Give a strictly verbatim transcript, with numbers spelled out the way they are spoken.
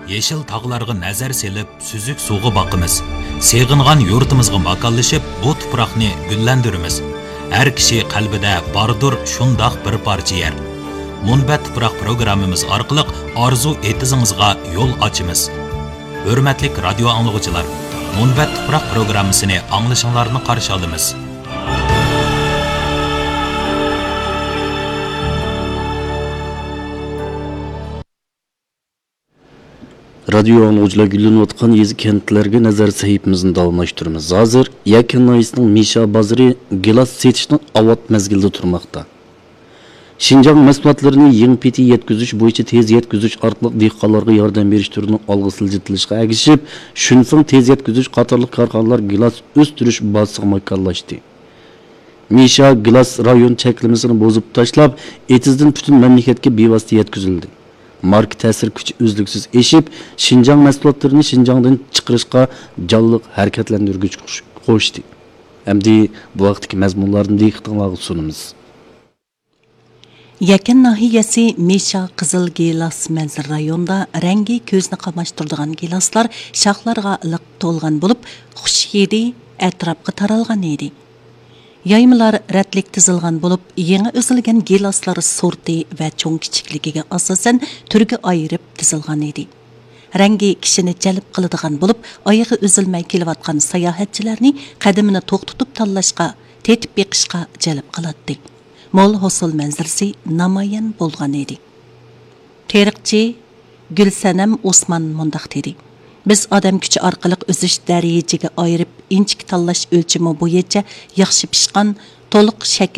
يېشىل تاغلارغا نەزەر سېلىپ، سۈزۈك سۇغا باقىمىز. سېغىنغان يۇرتىمىزغا ماكانلىشىپ، بۇ تۇپراقنى گۈللەندۈرىمىز. ھەر كىشى قەلبىدە باردۇر شۇنداق بىر پارچە يەر. مۇنبەت تۇپراق پروگراممىمىز ئارقىلىق ئارزۇ ئېتىزىڭىزغا يول ئاچىمىز. ھۆرمەتلىك رادىيو ئاڭلىغۇچىلار، مۇنبەت تۇپراق پروگراممىسىنى ئاڭلىشىڭلارنى قارشى ئالىمىز. رادىيو ئاڭلىغۇچىلار، گۈللىنىۋاتقان يېزا، كەنتلەرگە نەزەر سەھىپىمىزنى داۋاملاشتۇرىمىز. ھازىر يەكەن ناھىيەسىنىڭ مىشا بازىرى گىلاس سېتىشنىڭ ئاۋات مەزگىلىدە تۇرماقتا. شىنجاڭ مەھسۇلاتلىرىنى يېڭى پېتى يەتكۈزۈش بويىچە تېز يەتكۈزۈش ئارقىلىق دېھقانلارغا ياردەم بېرىش تۈرىنىڭ ئالغا سىلجىتىلىشىغا ئەگىشىپ، شۈنفېڭ تېز يەتكۈزۈش قاتارلىق كارخانىلار گىلاس ئۆستۈرۈش بازىسىغا ماكانلاشتى. مىشا گىلاس رايون چەكلىمىسىنى بۇزۇپ تاشلاپ، ئېتىزدىن پۈتۈن مەملىكەتكە بىۋاسىتە يەتكۈزۈلدى. ماركا تەسىر كۈچى ئۈزلۈكسىز ئېشىپ، شىنجاڭ مەھسۇلاتلىرىنى شىنجاڭدىن چىقىرىشقا جانلىق ھەرىكەتلەندۈرگۈچ قوش-، قوشتى. ئەمدى بۇ ھەقتىكى مەزمۇنلارنى دىققىتىڭلارغا سۇنىمىز. يەكەن ناھىيەسى مىشا قىزىل گىلاس مەنزىرە رايونىدا رەڭگى كۆزنى قاماشتۇرىدىغان گىلاسلار شاخلارغا لىق تولغان بولۇپ، خۇش ھىدى ئەتراپقا تارالغان ئىدى. يايمىلار رەتلىك تىزىلغان بولۇپ، يېڭى ئۈزۈلگەن گىلاسلار سورتى ۋە چوڭ كىچىكلىكىگە ئاساسەن تۈرگە ئايرىپ تىزىلغان ئىدى. رەڭگى كىشىنى جەلپ قىلىدىغان بولۇپ، ئايىغى ئۈزۈلمەي كېلىۋاتقان ساياھەتچىلەرنى قەدىمىنى توختىتىپ تاللاشقا، تېتىپ بېقىشقا جەلپ قىلاتتى. مول ھوسۇل مەنزىرىسى نامايان بولغان ئىدى. تېرىقچى گۈلسەنەم ئوسمان مۇنداق دېدى: بىز ئادەم كۈچى ئارقىلىق ئۈزۈش دەرىجىگە ئايرىپ، ئىنچىكە تاللاش ئۆلچىمى بويىچە ياخشى پىشقان، تولۇق شەكىل